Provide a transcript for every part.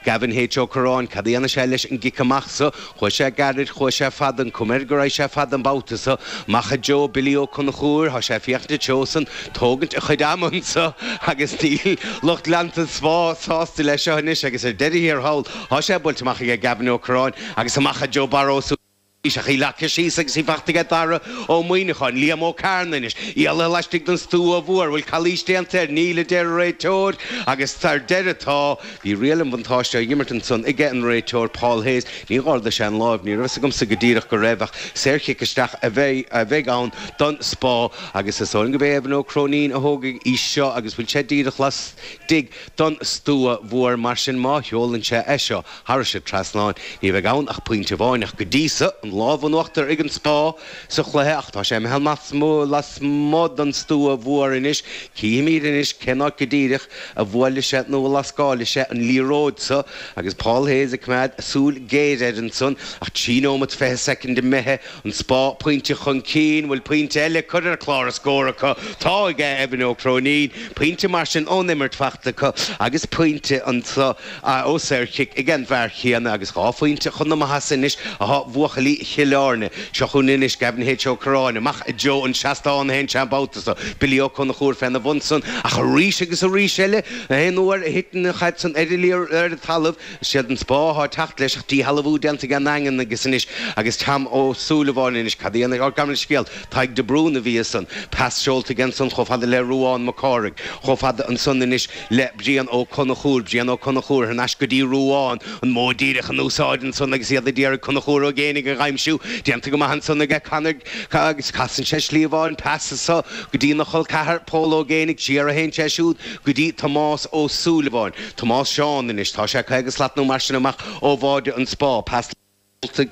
Gavin H. Ó Curráin, cad a dhéanfaidh sé leis an gcic amach so? Chuaigh sé gairid, chuaigh sé fada, an cuma air go raghaidh sé fada an babhta so. Amach i dtreo Billy Ó Conchúir, tá sé ag féachaint an treo san, tógaint a chuid ama anso agus níl lucht leanta an Spá sásta leis seo anois agus ar deireadh thiar thall, tá sé buailte amach aige Gavin Ó Curráin agus amach i dtreo Barra Ó Súilleabháin ach í leagtha síos agus í fachta aige Dara Ó Muimhneacháin, Liam Ó Cearnaigh anois, éalaithe laistigh den stua mhór, bhfuil calaois déanta air? Níl, a deir an réiteoir agus ar deireadh tá. Bhí riail an bhuntáiste á imirt ansan aige an réiteoir Paul Hayes. Níor ardaigh sé an láimh, ní raibh fhios agamsa go díreach go raibh, ach saorchic isteach a bheidh ann don Spá agus is dóigh liom gurb é Evan Ó Cróinín a thógfaidh í seo agus bhfuil sé díreach lastigh don stua mhór mar sin má sheolann sé é seo thairis an trasnán ní bheidh ann ach pointe amháin ach go dtí so an lámh in uachtar ag an Spá sa chluiche ach tá sé imithe lasmuigh don stua mhór anois. Cífimid anois cén áit go díreach a bhuailfidh sé nó a lascálfaidh sé an liathróid so agus Paul Hayes ag coimeád súil ghéar air ansan ach 3 nóimeat 20 soicind imithe, an Spá pointe chun cinn, bhfuil pointe eile curtha ar chlár a scór acu? Tá aige Evan Ó Cróinín, pointe mar sin ón imirt fachta acu agus pointe anso ó saorchic ag an bhfear chéanna agus dhá phointe chun na maitheasa anois athá buachaillí Chill Airne. Seo chugainn anois Gavin H. Ó Curráin amach i dtreo an seastáin a théann sé an babhta so. Billy Ó Conchúir féna bhun san ach arís agus arís eile aon uair a thiteann an chaid san ar ar an talamh is iad an Spá athá ag teacht leis ach díshealbhú déanta ag an nDaingean agus anois agus Tom Ó Súilleabháin anois cad a dhéanfaidh Ó gabh mo leithscéal Tadhg de Brún a bhí ansan. Pas seolta aige ansan chomh fada le Ruán Mac Cárthaigh chomh fada ansan anois le Brian Ó Conchúir, Brian Ó Conchúir thar n-ais go dtí Ruán, an modh díreach in úsáid ansan agus iad ag iarraidh Conchúr Ó Géibheannaigh a dh'aimsiú. Déanta go maith ansan aige Conor agus casann sé slí amháin, pas anso go dtí na chol ceathar, Pól Ó Géibheannaigh, siar a théann sé siúd go dtí Tomás Ó Súilleabháin. Tomás Seán anois, tá sé 50 slat nó mar sin amach ó bháide an Spá. Pas.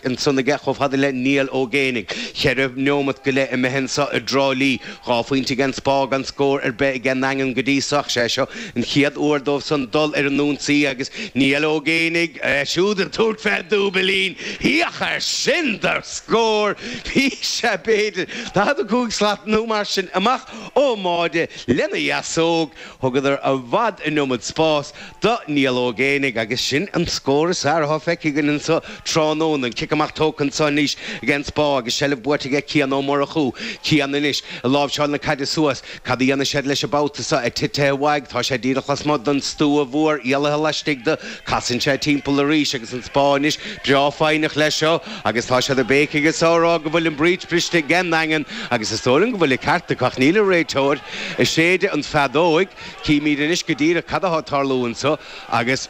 ansan aige chomh fada le Niall Ó Géibheannaigh. Cheithre neomat go leith imithe anso i dTrá Lí. Dhá phointe ag an Spá gan scór ar bith ag an nDaingean go dtí so ach sé seo an chéad uair dóibh san dul ar an ionsaí agus Niall Ó Géibheannaigh, é siúd ag tabhairt fé dúbailín. Féach air sin do scór! Bhí sé b'fhéidir 45 slat nó mar sin amach ón mbáide lena dheasóg. Thugadar i bhfad an iomad spás do Niall Ó Géibheannaigh agus sin an scór is fearr atá feicthe againn anso tráthnóna. An cic amach tógtha anso anois ag an Spá agus seilbh buaite aige Cian Ó Murchú. Cian anois ag láimhseáil na caide suas. Cad a dhéanfaidh siad leis an babhta seo? É titithe uaidh. Tá sé díreach lasmuigh den stua mhór, éalaithe laistigh de. Casann sé timpeall arís agus an Spá anois breá foighneach leis seo agus tá siad ag béicigh anso ag rá go bhfuil an breach briste ag an nDaingean agus is dóigh liom go bhfuil an ceart acu ach níl an réiteoir ag séideadh an feadóig. Címid anois go díreach cad atá ag tarlú anso agus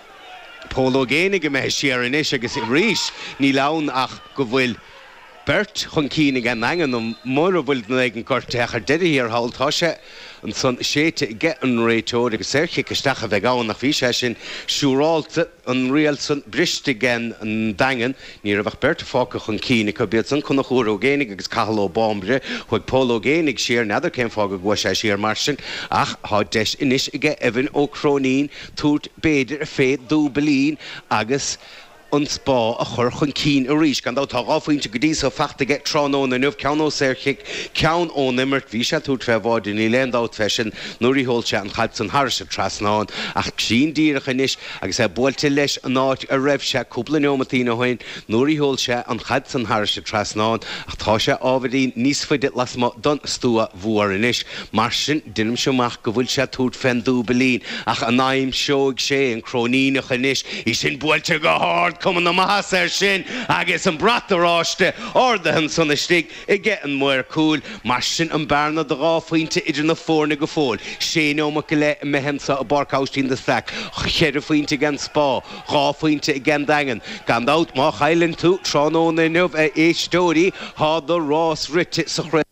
Pól Ó Géibheannaigh imithe siar anois agus arís níl ann ach go bhfuil beirt chun cinn ag an nDaingean nó mura bhfuil duine éigin gortaithe ach ar deireadh thiar thall tá sé ansan séidte aige an réiteoir agus saorchic isteach a bheidh ann ach bhí sé sin siúrálta. an riail san briste ag an Daingean. Ní raibh ach beirt fágtha chun cinn acu, b'iad san Conchúr Ó Géibheannaigh agus Cathal Ó Báimbre. Chuaigh Pól Ó Géibheannaigh siar, n'fheadar cén fáth go gcuaigh sé siar mar sin, ach tá deis anois aige Evan Ó Cróinín tabhairt b'fhéidir fé dúbailín agus an Spá a chur chun cinn arís. Gan dabht tá dhá phointe go dtí so fachta aige tráthnóna inniu, ceann ó saorchic, ceann ón imirt. Bhí sé ag tabhairt fé bháide, níl aon dabht fé sin, nuair a sheol sé an chaid san thairis an trasnán. Ach sin díreach anois Agus é buailte leis an áit a raibh sé cúpla neomatín ó shin nuair a sheol sé an chaid san thairis an trasnán ach tá sé ábhairín níos faide lasmuigh don stua mhór anois. Mar sin, deinimse amach go bhfuil sé ag tabhairt fén dúbailín ach an aimseoidh sé an Cróiníneach anois? Í sin buailte go hard, cuma na maitheasa air sin agus an brat oráiste ardaithe ansan istigh. aige an maor cúil. Mar sin an bearna de dhá phointe idir na foirne go fóill. Sé neomat go leith imithe anso i bPáirc Aibhistín de Staic. Cheithre phointe ag an Spá, dhá phointe ag an Daingean. Gan dabht, má chailleann tú tráthnóna inniu, a éisteoirí, tá do rás rite sa chraobh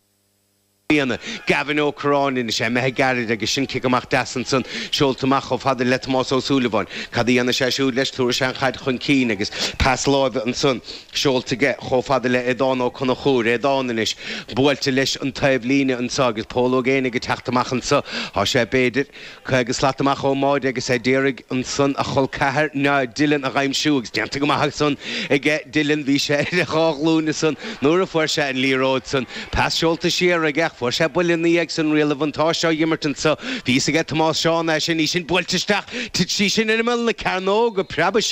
i mbliana. Gavin Ó Curráin anois, é imithe gairid agus sin cic amach deas ansan, seolta amach chomh fada le Tomás Ó Súilleabháin. Cad a dhéanfaidh sé siúd leis? Tabharfaidh sé an chaid chun cinn agus pas láimhe ansan. Seolta aige chomh fada le Aodán Ó Conchúir, Aodán anois buailte leis an taobh líne anso agus Pól Ó Géibheannaigh ag teacht amach anso. Tá sé b'fhéidir 50 slat amach ón mbáide agus é d'iarraidh ansan a chol ceathair Dylan a dh'aimsiú agus déanta go maith ansan aige Dylan. Bhí sé ar a dhá ghlúin ansan nuair a fuair sé an liathróid san. Pas seolta siar aige ach fuair sé buille ina dhiaidh san riail an bhuntáiste á dh'imirt anso. Bhí fhios aige Tomás Seán é sin, í sin buailte isteach. Thit sí sin ar imeall na cearnóga, preabadh sí.